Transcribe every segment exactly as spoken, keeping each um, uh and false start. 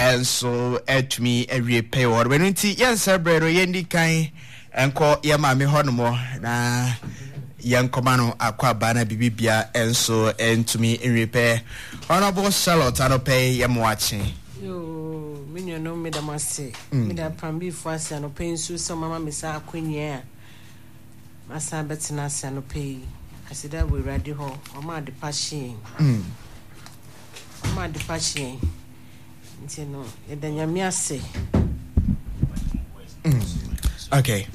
Nso atumi awie pɛyɛ wɔ hɔ. Ɛno nti yɛnsɛ berɛ no, yɛndi kan nkɔ yɛ maame hɔ nom na yɛnkɔma no akɔ aba na biribibia nso ntumi nwie pɛyɛ. Honorable Charlotte, anɔpɛ yi yɛ mo akye. Yoo, me nuanom, meda mo ase. Meda Prambifoɔ ase anɔpɛ yi nso sɛ ɔmama me saa akonnwa a masan bɛtena ase anɔpɛ yi. Aseda wɔ Awurade hɔ, ɔma ade pa hye yɛn. Ɔma ade pa hye yɛn. Nti no, yɛda Nyame ase. Okay,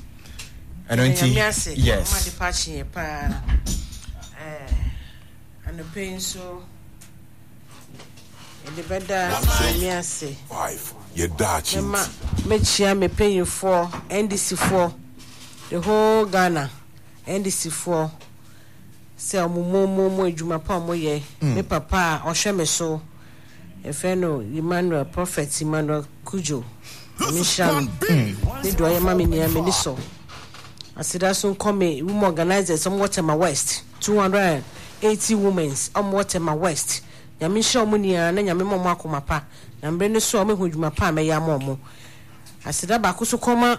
ɛno Yɛda nti Nyame ase. Yes. Ɔma ade pa hye yɛn paa. Ɛɛ, anɔpɛ yi nso, yɛde bɛda Nyame ase. Five yɛ daakye. Mɛma nti mɛkyia me mpanyinfoɔ, N D C foɔ, the whole Ghana N D C foɔ, sɛ ɔmo mo mo mo adwuma pa ɔmo yɛ. Me papa a ɔhwɛ me so, yɛfrɛ no Emmanuel, Prophet Emmanuel Kujo, Nyame nhyira no ne deɛ ɔyɛ ma me nyinaa, m'ani sɔ. Aseda so nkɔ me women organisers, ɔmo wɔ Tema West, two hundred and eighty womens ɔmo wɔ Tema West. Nyame nhyira ɔmo nyinaa na Nyame ma ɔmo akoma pa na mbere no so a ɔmo ehu adwuma pa a mɛyɛ ama ɔmo. Aseda baako so kɔma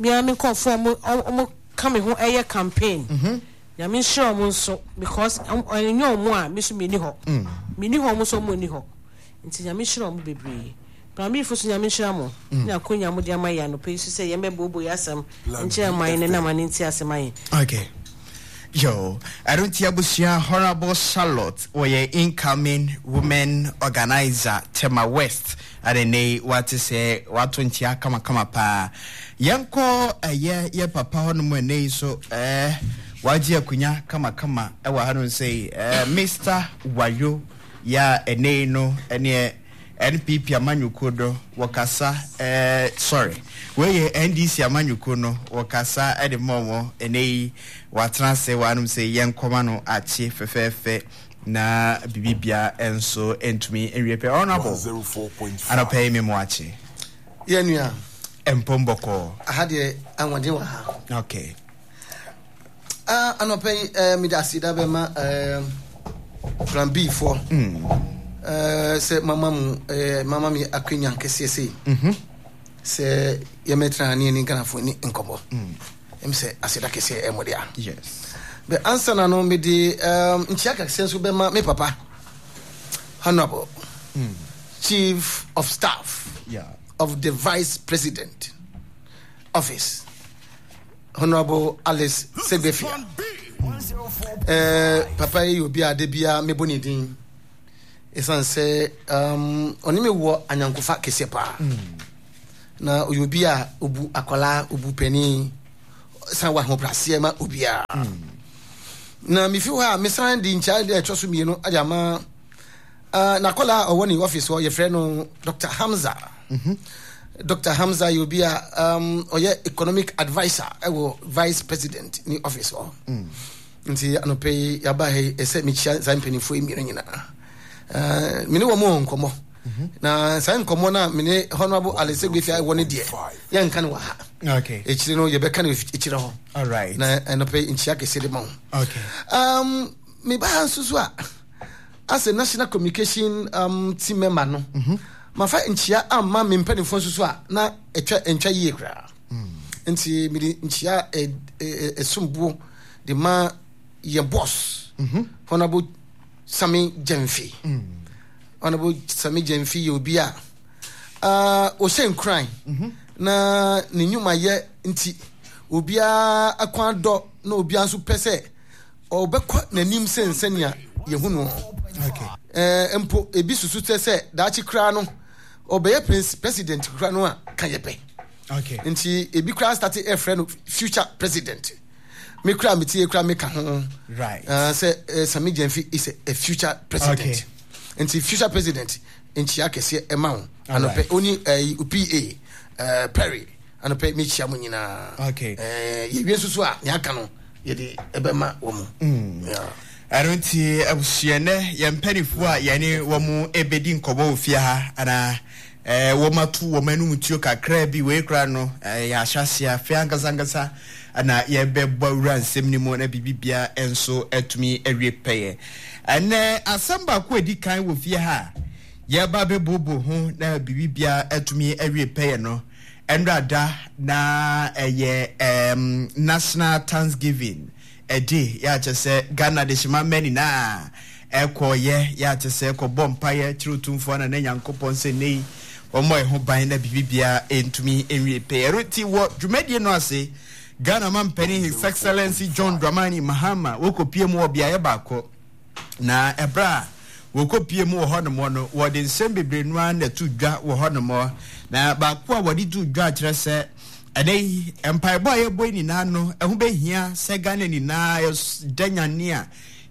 bia me nkɔfoɔ ɔmo ɔmo ka me ho ɛyɛ campaign. Nyame nhyira ɔmo nso, because ɛnyɛ ɔmo a, me so menni hɔ, menni hɔ, ɔmo nso ɔmo nni hɔ. Nti Nyame nhyira ɔmo bebree. Pramifo so, Nyame nhyira mo ne akonya mo de ama yɛ anɔpɛ yi so sɛ yɛmmɛbooboo yɛ asɛm nkyerɛ man no na ma ne nti asɛm ayɛ. Okay, yo, ɛno nti abusua, Honorable Charlotte wɔyɛ incoming women organizer, Tema West, ade ne wate sɛ wato nkyea kamakama paa. Yɛnkɔ ɛyɛ yɛ papa hɔnom ɛnɛ yi so, ɛɛ wagye akonnwa kamakama ɛwɔ hanom sɛ ɛɛ Mister Wayo yɛ a ɛnɛ yi no ɛneɛ N P P amanyɔkuo do wɔkasa, ɛɛ sorry, wei yɛ N D C amanyɔkuo no wɔkasa ɛde ma wɔn. Ɛnɛ yi watena ase wɔ hanom sɛ yɛnkɔma no akye fɛfɛɛfɛ na biribibia nso ntumi nwie pɛ. Honorable, anɔpɛ yi me mo akye. Yɛ nua. Mpom bɔkɔɔ? Aha deɛ, ahoɔden wɔ ha. Okay. Ah, anɔpɛ yi eh, mede aseda bɛma eh, Plan B foɔ mm. eh, sɛ mama mu eh, mama me akwanya kɛseɛ sei mm -hmm. sɛ yɛmɛtena ne yɛne Ghanafoɔ ne nkɔmmɔ. mm. Ɛm sɛ aseda kɛseɛ ɛmmɔ dea. Yes bɛ ansa na no, mede um, nkyia kɛseɛ nso bɛma me papa, Honorable mm. Chief of Staff yeah. of the Vice President Office, Honorable Alice Segbefia. eh, papa yi yɛ obi a de bia mebɔ ne din ɛsiane sɛ um, ɔne me wɔ anyankofa kɛseɛ paa mm. na ɔyɛ obi a obu akwadaa, obu panin, san wɔ ahobraseɛ ma obiara mm. Na mefi hɔ a, mesan de nkyia de ɛtɔ so mmienu ade ama uh, n'akwadaa a ɔwɔ ne office hɔ, yɛfrɛ no Doctor Hamza mm -hmm. Doctor Hamza yɛ obi a um, ɔyɛ economic adviser ɛwɔ Vice President ne office hɔ mm. Nti anɔpɛ yi yɛaba ha yi, ɛsɛ mekyia saa mpanimfoɔ yi mmienu nyinaa. uh, mene wɔ mo wɔ nkɔmmɔ mm-hmm. na saa nkɔmmɔ no a mene Honorable Alice Segbefia wɔ no deɛ, yɛnka no wɔ ha. Okay akyire no yɛbɛka no akyire hɔ. All right. Na anɔpɛ yi nkyia kɛseɛ de ma wo. Okay um, meba ha nso so a, as a national communication um, team member no mm -hmm. mafa nkyia amma me mpanimfoɔ nso so a na ɛtwa ntwa yie koraa mm. Nti mede nkyia ɛsomboɔ de ma yɛn boss mm -hmm. Honorable Sami Gyamfi mm. Honorable Sami Gyamfi yɛ obi a ɔhyɛ nkuran mm -hmm. na ne nnwumayɛ nti obiara akwan dɔ na obiara nso pɛ sɛ ɔbɛkɔ n'anim sɛ nsɛnea yɛhu no. ɛɛ mpo ebi susu sɛ sɛ daakye koraa no ɔbɛyɛ president koraa no a ka yɛ pɛ. Nti ebi koraa start ɛfrɛ no future president. Me koraa me tie koraa me ka ho right uh, sɛ uh, Sami Gyamfi is a, a future president okay. Nti future president, nkyia kɛseɛ ɛma wo anɔpɛ. Oni ɛɛ pa ɛɛ Perry, anɔpɛ mekyia mo nyinaa. Okay. ɛɛ yɛwie nso so a, nea aka no yɛde ɛbɛma wɔ mo. Ɛno nti abusua, nɛ yɛn mpanimfoɔ a yɛne wɔn ɛbɛdi nkɔmmɔ wɔ fie ha anaa ɛɛ wɔn ato wɔn anum tuo kakra bi wei koraa no, ɛɛ yɛ ahyɛase afei ankasa ankasa ɛna yɛbɛbɔ awura nsɛm no mu na biribi bia nso atumi awie pɛyɛ. Ɛnɛ asɛm baako a ɛdi kan wɔ fie ha a Yɛba bɛbobo ho na biribiara atumi awie pɛyɛ no. Ɛnrada na ɛyɛ um, National Thanksgiving ɛde yɛakyɛ sɛ Ghana de hyema mma nyinaa ɛkɔɔyɛ yɛakyɛ sɛ kɔbɔ mpaeɛ kyerɛ Otumfoɔ na ne Nyankopɔn sɛ nnɛ yi wɔmmɔ ɛho ban na biribiara ɛntumi nwie pɛyɛ. Ɛno nti wɔ dwumadie no ase, Ghana mampanin His Excellency John Dramani Mahama wɔkɔpie mu wɔ beaeɛ baako. Na ɛberɛ a wɔkɔpie mu wɔ hɔnom no, wɔde nsɛm bebree no ara na ɛto dwa wɔ hɔnom. Na baako a wɔde to dwa kyerɛ sɛ ɛnɛ yi mpaebɔ a yɛbɔ yi nyinaa no, ɛho bɛhia sɛ Ghana nyinaa yɛda nyane a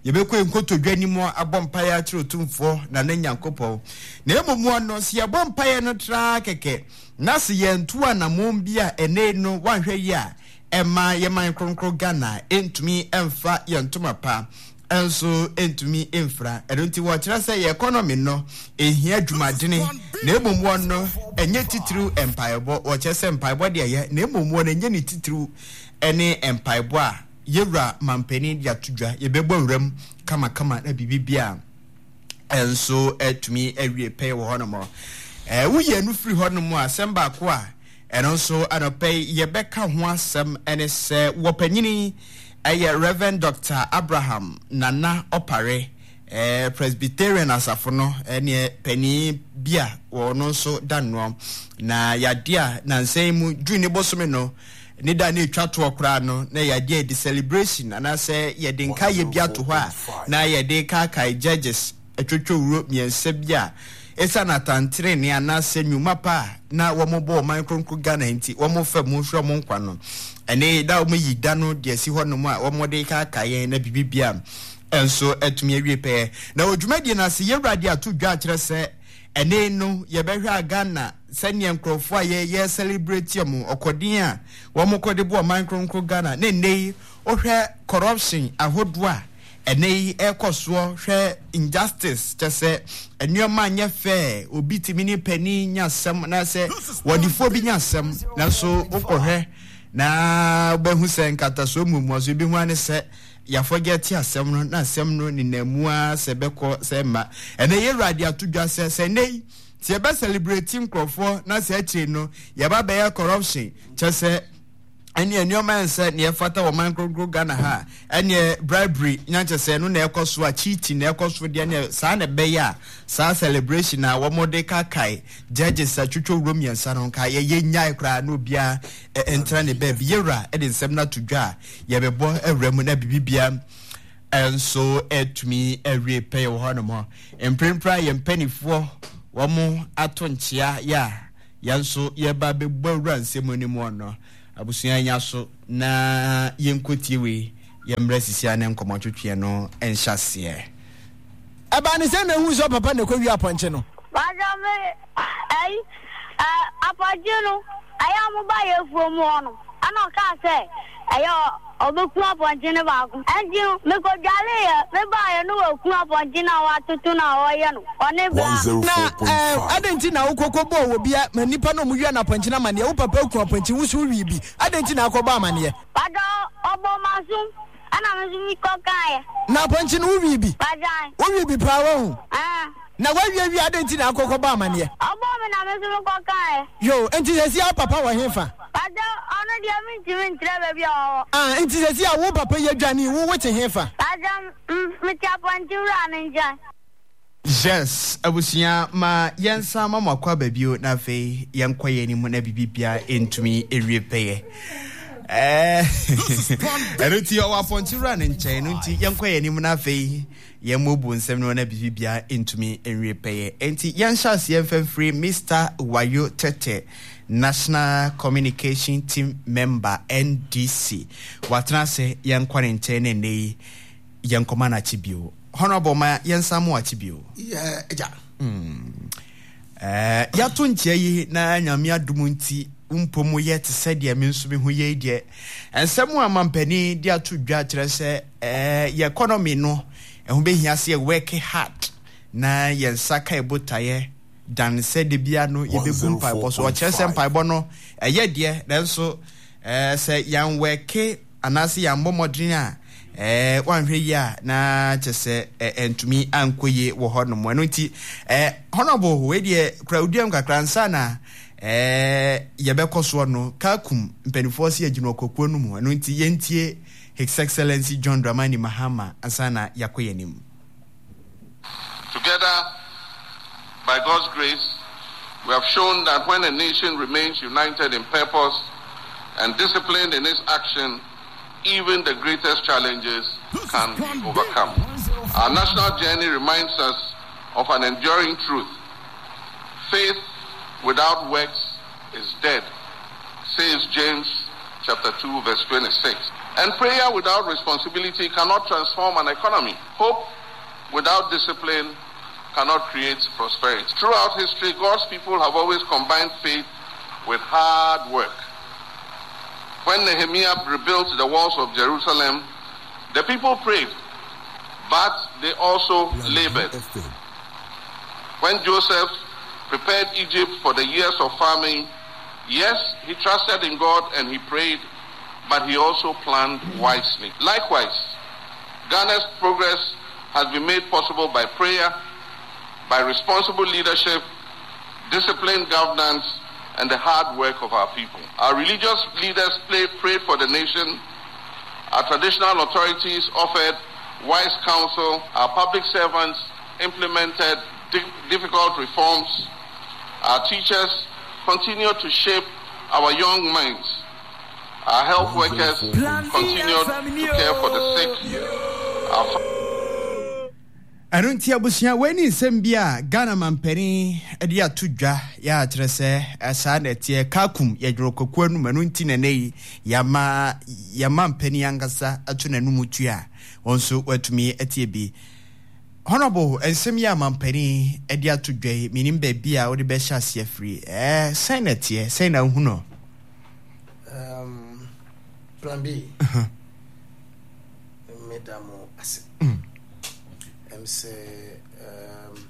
yɛbɛkɔ nkotodwe anim abɔ mpaeɛ akyerɛ Otumfoɔ na ne Nyankopɔn. Na mmom no, sɛ yɛbɔ mpaeɛ no traa kɛkɛ na sɛ yɛnto anammɔn bi a ɛnɛ no wanhwɛ yi a ɛma yɛman kronkron Ghana ɛntumi ɛmfa yɛn ntoma pa nso ntumi mfra. Ɛno nti wɔkyerɛ sɛ yɛ economy no ehia dwumadene, na mmom wɔn no ɛnyɛ titiriw mpaebɔ. Wɔkyerɛ sɛ mpaebɔ deɛ ɛyɛ, na mmom wɔn ɛnyɛ ne titiriw ɛne mpaebɔ a yɛwura mampanin de ato dwa. Yɛbɛbɔ wuram kamakama na biribi bia nso atumi awie pɛyɛ wɔ hɔnom. Ɛɛ woyɛ no firi hɔnom a, asɛm baako a ɛno nso anɔpɛ yi yɛbɛka ho asɛm ɛne sɛ wɔpanyini ɛyɛ Reverend Doctor Abraham Nana Opare, eh, Presbyterian asafo no ɛneɛ panin bi a wɔno nso da noɔ. Na yadeɛ a nansa yi mu June ne bosome no ne da ne etwa toɔ koraa no, na yadeɛ a yɛde celebration anaasɛ yɛde nkaeɛ bi ato hɔ a na yɛde kaakae judges atwotwo wuro mmiɛnsa bi a ɛsiane atantenene anaasɛ nnwuma pa a na wɔn bɔ ɔman kronkron Ghana nti wɔn fa mu hwɛ wɔn nkwa no. Ɛne da wɔn yi da no deɛ si hɔ nom a wɔn de kaakae yɛn na biribi bia nso atumi awie pɛɛ. Na wɔ dwumadie no ase, yɛwura de ato dwa akyerɛ sɛ ɛne no yɛbɛhwɛ a Ghana sɛnea nkurɔfoɔ a yɛyɛ celebrate wɔn ɔkɔden a wɔn kɔde bɔ ɔman kronkron Ghana, ne nne yi wohwɛ corruption ahodoɔ a ɛnɛ yi ɛkɔ soɔ, hwɛ injustice, kyɛ sɛ nneɛma nyɛ fɛ, obi tumi ne panin nya asɛm na sɛ wɔdefoɔ bi nya asɛm, nanso wokɔhwɛ na wobɛhu sɛ nkatasoɔ mmuamuaso bi ho ane sɛ yɛafɔgɛ te asɛm no na asɛm no nenam mu ara sɛ bɛkɔ sɛ mma. Ɛnɛ yɛwura de ato dwa sɛ sɛ nnɛ yi sɛ yɛbɛ celebrate nkurɔfoɔ na sɛ akyire no yɛba bɛyɛ corruption, kyɛ sɛ ɛneɛ nneɛma nsɛ neɛ fata wɔ man kronkron Ghana ha, ɛneɛ bribery nyankyɛ sɛ ɛno na ɛkɔ so a, cheating na ɛkɔ so deɛ, neɛ saa na ɛbɛyɛ a saa celebration a wɔn de kakae judges atwitwa wuro mmiɛnsa no nka yɛyɛ nyae koraa na obiara ntena ne baabi. Yɛwura ɛde nsɛm no ato dwa a yɛbɛbɔ awura mu na biribi nso atumi awie pɛyɛ wɔ hɔnom. Mprempren a yɛn mpanimfoɔ wɔn ato nkyea yɛ a yɛn nso yɛba bɛbɔ awura nsɛm no mu no, abusua nya so na yɛnkɔtie wei, yɛmmerɛ sisia ne nkɔmmɔtwetweɛ no nhyɛ aseɛ. Ɛbaa ne sɛ na ehu sɛ papa na ɛkɔwie apɔnkye no. Bàtà mi ɛyi ɛ apɔnkye no ɛyɛ a mo ba yɛ afuo mu hɔ no, ɛna ɔkaa sɛ ɛyɛ ɔbɛku apɔnkye no baako. Ɛnti no mekɔdwaleeɛ, mebaeɛ no wɔku apɔnkye no a wɔatoto no a ɔyɛ no ɔne bra. Na ɛɛ adɛn nti na wokɔkɔ bɔɔ wɔ bia ma nipa no ɔmo wia no apɔnkye no amanneɛ? Wo papa ku apɔnkye, wo so wowie bi, adɛn nti na akɔbɔ amanneɛ? Bàtà ɔbɔ m'asom ɛna me nso mekɔkaeɛ. Na apɔnkye no wowie bi? Bàtà. Wowie bi paa wahu? Ɛɛ. Na wawie wie, adɛn nti na akɔkɔ bɔ amanneɛ? Ɔbɔ me na me nso mekɔkaeɛ. Yo, nti sɛsi a wo papa wɔ he fa? Bàtà ɔno deɛ mentumi nkyerɛ baabi a ɔwɔ. Ah, nti sɛsi a wo papa yi adwane, wo wote he fa? Bàtà mete apɔnkye wura no nkyɛn. Yes, abusua, ma yɛnsa ma mo akɔ aba bio na afei yɛnkɔ yɛn anim na biribi bia ntumi ewie pɛyɛ. Ɛno nti ɔwɔ apɔnkye wura ne nkyɛn no nti yɛnkɔ yɛn anim na afei yɛmmɔbu nsɛm no na biribi bia ntumi nwie pɛyɛ. Nti yɛnhyɛ aseɛ mfɛmfiri Mister Wayo Tete, National Communication Team Member N D C. Watena ase, yɛnkɔ ne nkyɛn ne nnɛ yi yɛnkɔma no akyi bio. Honorable, ma yɛnsa mo akyi bio. Yɛ agya. Eh, yɛato nkyea yi na Nyame adom nti mpo mu yɛ te sɛ deɛ me nso me ho yei deɛ, nsɛm a mampanin de ato dwa kyerɛ sɛ eh, yɛ economy no ɛho bɛhia sɛ yɛ work hard na yɛn nsa ka ɛbotaeɛ dan sɛ de bia no yɛbɛgu mpaebɔ so. Ɔkyerɛ sɛ mpaebɔ no ɛyɛ deɛ, nanso eh, sɛ yɛn work anaasɛ yɛn mmɔ mmɔden a Eh, wanhwɛ yi a na kyɛ sɛ ɛntumi ankɔ yie wɔ hɔ nom. Ɛno nti eh, Honorable, wei deɛ kura oduam kakra nsa na eh, yɛbɛkɔ soɔ no. Kakum mpanimfoɔ si agyina ɔkɔkuo no mu. Ɛno nti yɛntie His Excellency John Dramani Mahama ansa na yɛakɔ yɛn anim. Together, by God's grace, we have shown that when a nation remains united in purpose and disciplined in its action, even the greatest challenges can be overcome. Our national journey reminds us of an enduring truth. Faith without works is dead, says James chapter two, verse twenty-six. And prayer without responsibility cannot transform an economy. Hope without discipline cannot create prosperity. Throughout history, God's people have always combined faith with hard work. When Nehemiah rebuilt the walls of Jerusalem, the people prayed, but they also labored. When Joseph prepared Egypt for the years of famine, yes, he trusted in God and he prayed, but he also planned wisely. Likewise, Ghana's progress has been made possible by prayer, by responsible leadership, disciplined governance, and the hard work of our people. Our religious leaders play, prayed for the nation. Our traditional authorities offered wise counsel. Our public servants implemented di- difficult reforms. Our teachers continue to shape our young minds. Our health workers continue to care for the sick. Our Ɛno nti abusua, wei ne nsɛm bi a Ghana mampanin de ato dwa yɛ akyerɛ sɛ saa na ɛteɛ. Kakum yɛdwerɛ kwakuo no mu. Ɛno nti na ɛnɛ yi yɛama yɛma mpanin ankasa ato n'anum tu a wɔn nso wɔatumi atie bi. Honorable, nsɛm yi a mampanin de ato dwa yi, menim baabi a wode bɛhyɛ aseɛ afiri. Ɛɛ sɛn na ɛteɛ? Sɛn na wohu no? Um, plan B. Meda mo ase. Ɛm sɛ um,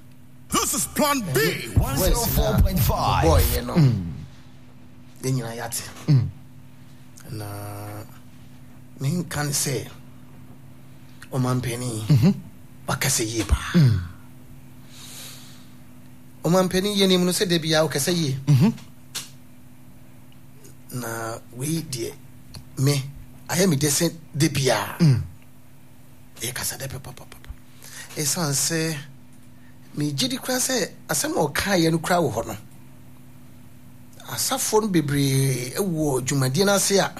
This is Plan B one oh four point five. Boy, no. Yɛn nyinaa yɛate. Na menka ne sɛ ɔmampanin wakasa yie paa. Ɔmampanin yɛnim no sɛ da biara ɔkasa yie. Na wei deɛ me ayɛ me dɛ sɛ da biara ɛyɛ kasa dɛ pɛpɛpɛpɛ. Ɛsiane sɛ megye di koraa sɛ asɛm a ɔkaeɛ no koraa wɔ hɔ no, asafoɔ no bebree wɔ dwumadie no ase a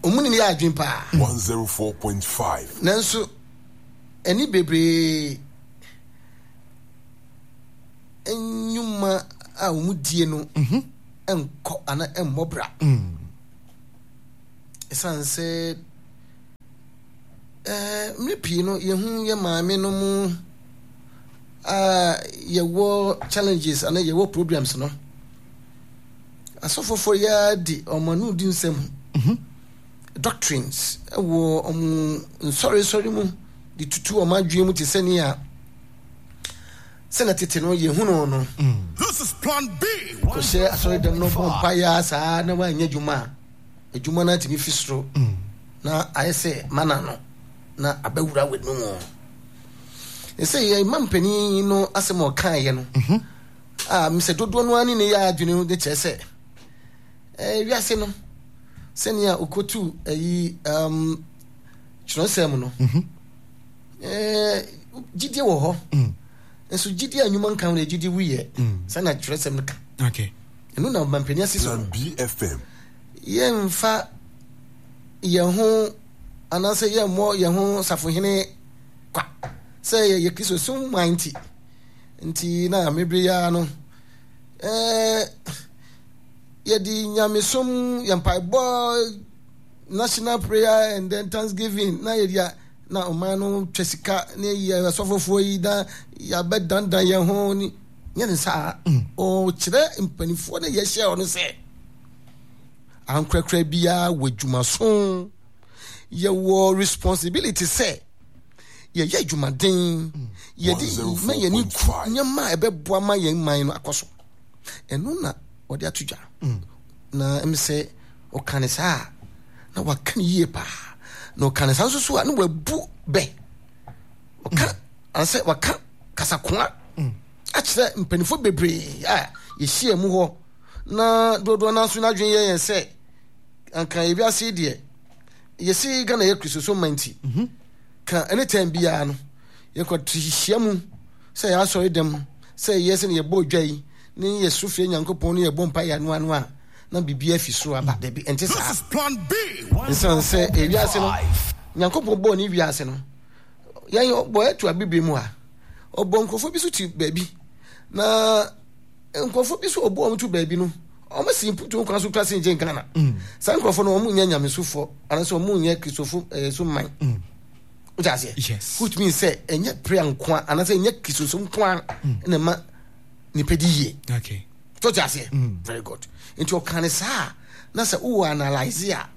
ɔmu ne ne yɛ adwene paa. one oh four point five. Nanso ɛne bebree nnwuma a ɔmu die no nkɔ ana mmɔ bra. Ɛsiane sɛ mmerɛ pii no yɛhu yɛ maame no mu a yɛwɔ challenges ana yɛwɔ programs no, asɔfofoɔ yɛ di ɔmo ano di nsɛm doctrines ɛwɔ ɔmo nsɔresɔre mu de tutu ɔmo adwene mu te sɛ nea sɛnɛ tete no yɛhu no no. This is Plan B. Kɔhyɛ asɔre dɛm no bɔ mpaeɛ saa na wanyɛ adwuma a, adwuma no atumi fi soro na ayɛ sɛ mana no na abɛwura w'anum. Ɛsɛ yɛ mma mpanin no asɛm a ɔkaeɛ no a mesɛ dodoɔ no ani ne yɛ adwene de kyerɛ sɛ ɛɛ wiase no sɛnea okotu ayi um, kyerɛwsɛm no ɛɛ gyidie wɔ hɔ nso gyidie a nnwuma nka ho na gyidie wuyɛ sɛnea kyerɛwsɛm no ka. Ɛno na mpanin ase so Plan B F M. Yɛmfa yɛn ho anaasɛ yɛmmɔ yɛn ho safohene kwa sɛ yɛyɛ Kristo som man nti. Nti na mebere ya no ɛɛ yɛde nyamesom yɛn mpaebɔ national prayer and then thanksgiving na yɛde a na ɔman no twa sika ne yɛ asɔfofoɔ yi na yɛabɛdandan yɛn ho ne nyɛ ne saa. Ɔkyerɛ mpanimfoɔ ne yɛhyɛ ɔno sɛ ankorakora biara wɔ adwumaso, yɛwɔ responsibility sɛ yɛyɛ adwumaden, yɛde ma yɛn ani ku nneɛma a ɛbɛboa ma yɛn man no akɔ so. Ɛno na ɔde ato dwa. Na ɛm sɛ ɔka ne saa na waka ne yie paa. Na ɔka ne saa nso so a, ne wabu bɛ ɔka anasɛ waka kasakoa akyerɛ mpanimfoɔ bebree a yɛhyia mu hɔ, na dodoɔ no nso n'adwene yɛ yɛn sɛ anka ewiase yi deɛ, yɛsi Ghana yɛ Kristosom man, nti ka ɛne tɛn biara no yɛkɔto hyia mu sɛ yɛ asɔre dɛm, sɛ yɛ sɛ ne yɛbɔ odwa yi ne yɛso fie Nyankopɔn ne yɛbɔ mpa yɛ anoa no a, na biribi afi soro aba. Dabi, ɛnte saa. This is Plan B. Nsan sɛ ewiase no, Nyankopɔn bɔɔ ne wiase no, yɛn ɔbɔ ɛto abibire mu a, ɔbɔ nkurɔfoɔ bi so te baabi, na nkurɔfoɔ bi so ɔbɔ wɔn to baabi no, wɔn si mputu kwan so kura se nkyɛn Ghana. Saa nkurɔfoɔ no, wɔn nyɛ nyamesofoɔ anaasɛ wɔn nyɛ Kristofo ɛɛ so man. O ti aseɛ? Yes. Which means sɛ ɛnyɛ prayer nkoa anaasɛ ɛnyɛ Kristosom nkoa ɛna ɛma nipa di yie. Okay. Tó ti aseɛ? Very good. Nti ɔka ne saa, na sɛ wowɔ analyse a,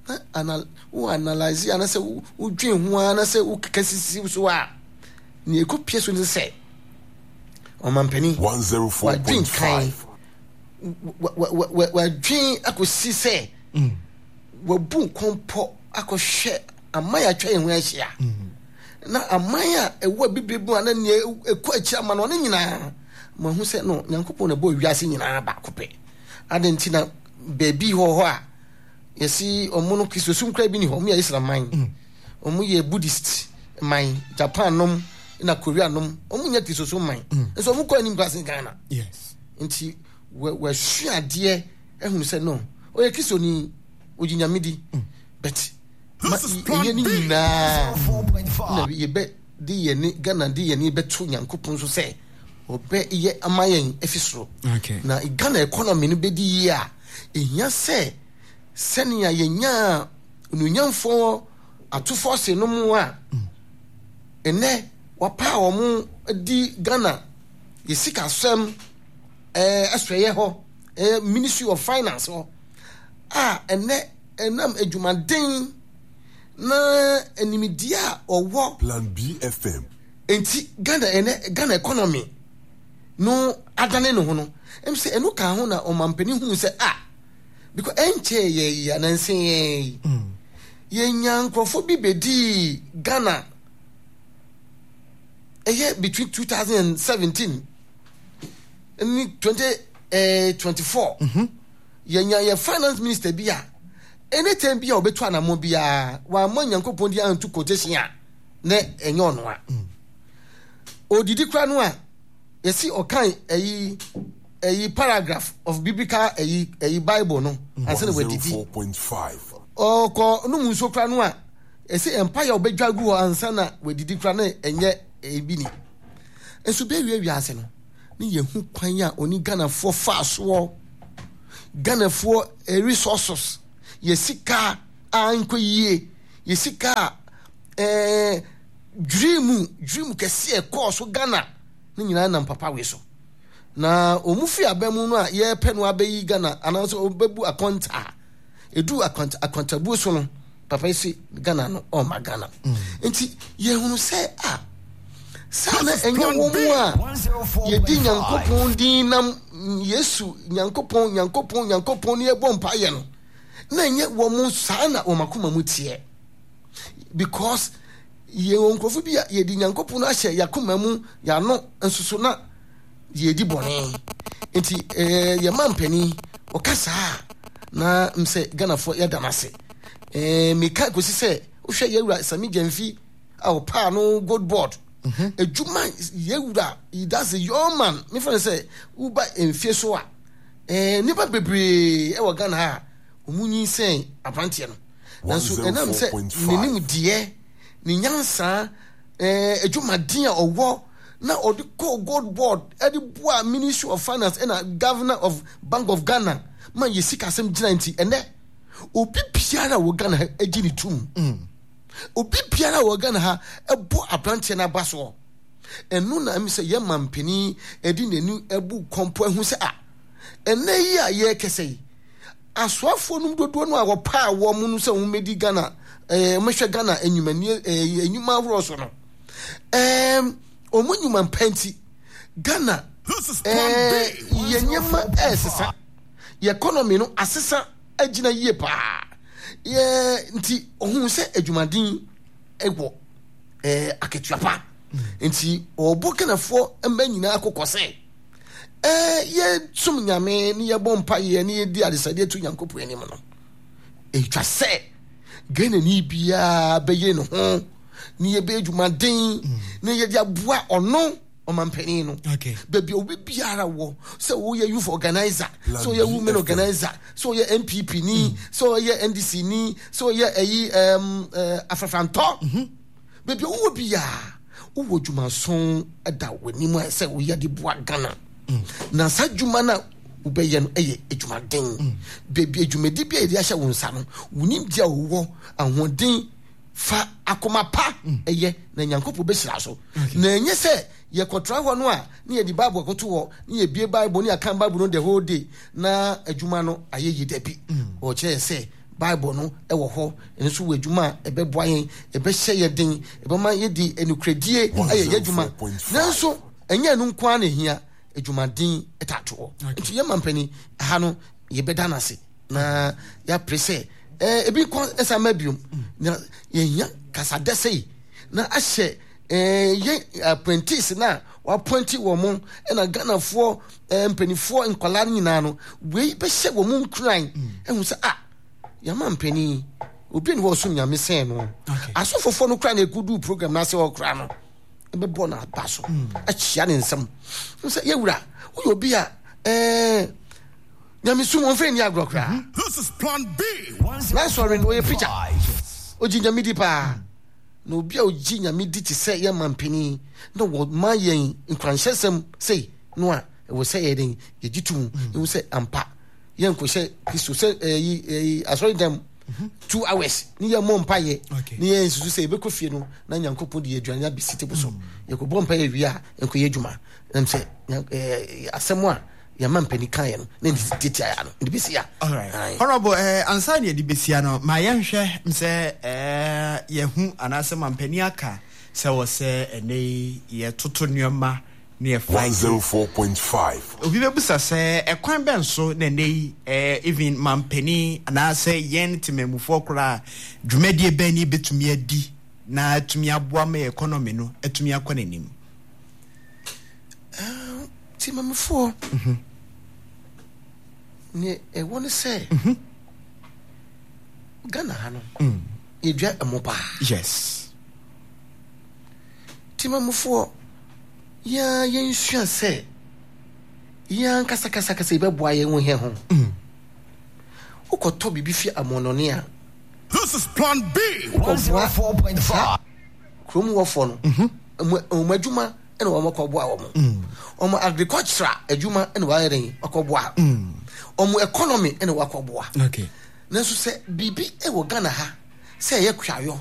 na anal wowɔ analyse a, na sɛ wo- wodwen ho a, na sɛ wokeka sisi so a, nea ɛkɔ pie so ne sɛ ɔmampanin wadwen kan one oh four point five. wa- wa- wa- wa- wadwen akɔsi sɛ wabu nkɔmpɔ akɔhwɛ aman a atwa yɛn ho ahyia, na aman a ɛwɔ abibire mu a, na nea ɛkɔ akyi ama no, ɔno nyinaa mahu sɛ no Nyankopɔn na ɛbɔ wiase nyinaa baako pɛ ade. Nti na baabi hɔ hɔ a yɛsi ɔmo no, Kristosom kora bi ni hɔ. Ɔmo yɛ Islam man, ɔmo yɛ Buddhist man. Japan nom na Korea nom, ɔmo nyɛ Kristosom man, nso ɔmo kɔ anim kora sen Ghana. Yes. Nti wɔ- wɔasua adeɛ ahunu sɛ no, ɔyɛ Kristoni, ɔgye Nyame di, but ma This is Plan ɛnyɛ ne B. nyinaa na yɛbɛ de yɛne Ghana de yɛne bɛto Nyankopɔn so sɛ ɔbɛ yɛ ama yɛn afi soro. Okay. Na Ghana economy no bɛdi yie a, ɛhia sɛ sɛnea yɛnyaa onuonyamfoɔ atofoɔ se no mu a, ɛnɛ wapa a wɔn di Ghana yɛ sikasɛm ɛɛ ɛsɔyɛ hɔ, ɛɛ Ministry of Finance hɔ a, ɛnɛ ɛnam adwumaden na animdeɛ a ɔwɔ Plan B F M. nti Ghana ɛnɛ Ghana economy no adane ne ho no, ɛm sɛ ɛno ka ho na ɔmampanin hu sɛ ah, because ɛnkyɛ yɛ yɛ ananse yɛn yi, yɛnya nkurɔfoɔ bi bɛdii Ghana, ɛyɛ between two thousand and seventeen ne twenty twenty four, yɛnya yɛ finance minister bi a, anytime bi a ɔbɛtu anammɔ biara, wammɔ Nyankopɔn di anto quotation a, na ɛnyɛ ɔno a odidi kora no a, yɛsi ɔkan ɛyi ɛyi paragraph of biblical ɛyi ɛyi Bible no ansa na wadidi. one oh four point five. Ɔkɔ nom nsuo kora no a, ɛsɛ mpaeɛ a ɔbɛdwa gu hɔ ansa na wadidi kora, na ɛnyɛ ebi ni. Nso bɛwie wiase no ne yɛhu kwan a ɔne Ghanafoɔ fa soɔ, Ghanafoɔ eh, resources, yɛ sika a nkɔ yie, yɛ sika a ɛɛ dream dream kɛseɛ kɔɔ so Ghana ne nyinaa nam papa wei so. Na wɔn fi aba mu no a, yɛrepɛ no abɛyi Ghana anaasɛ ɔbɛbu akɔnta a edu akwanta akwantabuo so no, papa yi si Ghana no, ɔma Ghana. Nti yɛhunu sɛ a saa na ɛnyɛ wɔn mu a yɛdi Nyankopɔn din nam Yesu Nyankopɔn Nyankopɔn Nyankopɔn ne yɛbɔ mpaeɛ no, na ɛnyɛ wɔn mu saa na wɔn akoma mu teɛ, because yɛwɔ nkurɔfo bi a yɛde Nyankopɔn ahyɛ yɛakoma mu, yɛano nso so na yɛdi bɔne. Nti ɛɛ yɛma mpanin ɔka saa na m sɛ Ghanafoɔ yɛda no ase. ɛɛ meka kɔsi sɛ wohwɛ yɛwura Sammy Gyamfi a ɔpaa no Gold Board adwuma, yɛwura, that's a young man. Mefa no sɛ woba mfie so a, ɛɛ nnipa bebree ɛwɔ Ghana ha a wɔn nyinsɛn aberanteɛ no, nanso ɛnam sɛ n'anim deɛ, ne nyansa, ɛɛ adwumaden a ɔwɔ na ɔde kɔɔ Gold Board, ɛde boa Ministry of Finance ɛna Governor of Bank of Ghana ma yɛ sika asɛm gyina. Nti ɛnɛ obi biara a wɔ Ghana ha agye ne tum, obi biara a wɔ Ghana ha ɛbɔ aberanteɛ no aba soɔ. Ɛno na ɛmi sɛ yɛ ma mpanin ɛde n'ani ɛbu kɔmpɔ ɛho sɛ a, ɛnɛ yi a yɛrekɛsɛ yi, asoafoɔ no dodoɔ no a wɔpaa wɔn no sɛ wɔn mɛdi Ghana, ɛɛ wɔhwɛ Ghana enyimanie, ɛɛ enyuma ahoroɔ so no, ɛɛm wɔn nnwuma mpa nti Ghana ɛɛ yɛ nneɛma ɛɛsesa, yɛ economy no asesa agyina yie paa. Yɛ nti ohun sɛ adwumaden ɛwɔ ɛɛ akatua pa, nti ɔbɔ Ghanafoɔ mma nyinaa kɔkɔ sɛ ɛɛ yɛsom Nyame ne yɛbɔ mpayɛ ne yɛdi adesadeɛ to Nyankopɔn anim no, ɛtwa sɛ Ghanani biara bɛyere ne ho ne yɛbɛyɛ adwumaden ne yɛde aboa ɔno ɔmampanin no. Okay. Baabi a obi biara wɔ, sɛ woyɛ youth organizer, sɛ woyɛ women organizer, sɛ woyɛ N P P ni, sɛ woyɛ N D C ni, sɛ woyɛ ɛyi ɛm ɛɛ afrafrantɔ, baabi a wowɔ biara, wowɔ dwumason da w'anim a sɛ woyɛ de boa Ghana, na saa dwuma no a wobɛyɛ no ɛyɛ adwumaden. Baabi adwumadi bi a yɛde ahyɛ wo nsa no, wo nimdeɛ a wowɔ, ahoɔden, fa akoma pa ɛyɛ, na Nyankopɔn bɛhyira so. Na ɛnyɛ sɛ yɛkɔtra hɔ no a ne yɛde Bible akɔto hɔ ne yɛbie Bible ne yɛaka Bible no the whole day na adwuma no ayɛ yi. Dabi, ɔkyerɛ yɛ sɛ Bible no ɛwɔ hɔ, ɛno nso wɔ adwuma a ɛbɛboa yɛn, ɛbɛhyɛ yɛ den, ɛbɛma yɛdi anukuradie ayɛ yɛ adwuma. Nanso ɛnyɛ ɛno nko ara na ɛhia, adwumaden ɛtatoɔ. Nti yɛma mpani ha no, yɛbɛda no ase na yɛapere sɛ ɛɛ ebi nkɔ ɛsa ma biom, na yɛhia kasadɛ sɛyi na ahyɛ ɛɛ yɛn apprentice na wappoint wɔn mo, ɛna Ghanafoɔ ɛɛ mpanimfoɔ, nkwadaa no nyinaa no, wei bɛhyɛ wɔn mu nkuran ɛhu sɛ ah, yɛama mpanin obi ni hɔ ɔsom Nyame sɛn no. Asɔfofoɔ no kora na ekudu program n'ase hɔ kora no, ɛbɛbɔ n'aba so akyia ne nsam sɛ yɛwura, woyɛ obi a ɛɛ nyamesum wɔn fɛn ni agorɔ koraa. This is Plan B. N'asɔre no, ɔyɛ preacher, ogye Nyame di paa, na obi a ogye Nyame di te sɛ yɛn ma mpanin na wɔma yɛn nkuranhyɛsɛm sei no a, ɛwɔ sɛ yɛ den yɛgye to mu ehu sɛ ampa yɛn nkɔhyɛ Kristo sɛ ɛyi ɛyi asɔre dɛm two hours ne yɛn mmɔ mpaeɛ ne yɛn nsusu sɛ yɛbɛkɔ fie no na Nyankopɔn de yɛ aduane abɛsi table so. Yɛkɔbɔ mpaeɛ wie a, nkɔyɛ adwuma nam sɛ ɛɛ asɛm a yɛma mpanin kan yɛ no na ne tietia ya no ne bɛsi ya. Alright. Honorable, eh, ansa ne yɛde bɛsia no, ma yɛnhwɛ sɛ eh, yɛhu anaasɛ mampanin aka sɛ wɔ sɛ ɛnɛ yi yɛtoto nneɛma ne yɛfa. one oh four point five. Obi bɛbusa sɛ ɛkwan bɛn so na ɛnɛ yi eh, even mampanin anaasɛ yɛn temamufoɔ koraa, dwumadie bɛn ne yɛbɛtumi adi na atumi aboa ma yɛ economy no atumi akɔ n'anim? Temamufoɔ ne ɛwɔ ne sɛ Ghana ha no, yɛdua ɛmo paa. Yes temamufoɔ, yɛa yɛnsua sɛ yɛa nkasakasakasa yɛbɛboa yɛn ho yɛn ho. Wokɔtɔ biribi fi amɔnɔne a, This is Plan B. wokɔboa saa kurom wɔfoɔ no, ɔmo ɔmo adwuma ɛna wɔn akɔboa wɔn, ɔmo agriculture adwuma ɛna wɔayɛ den akɔboa ɔmo, economy ɛna wɔakɔboa. Okay nanso sɛ biribi ɛwɔ Ghana ha sɛ ɛyɛ kuayɔ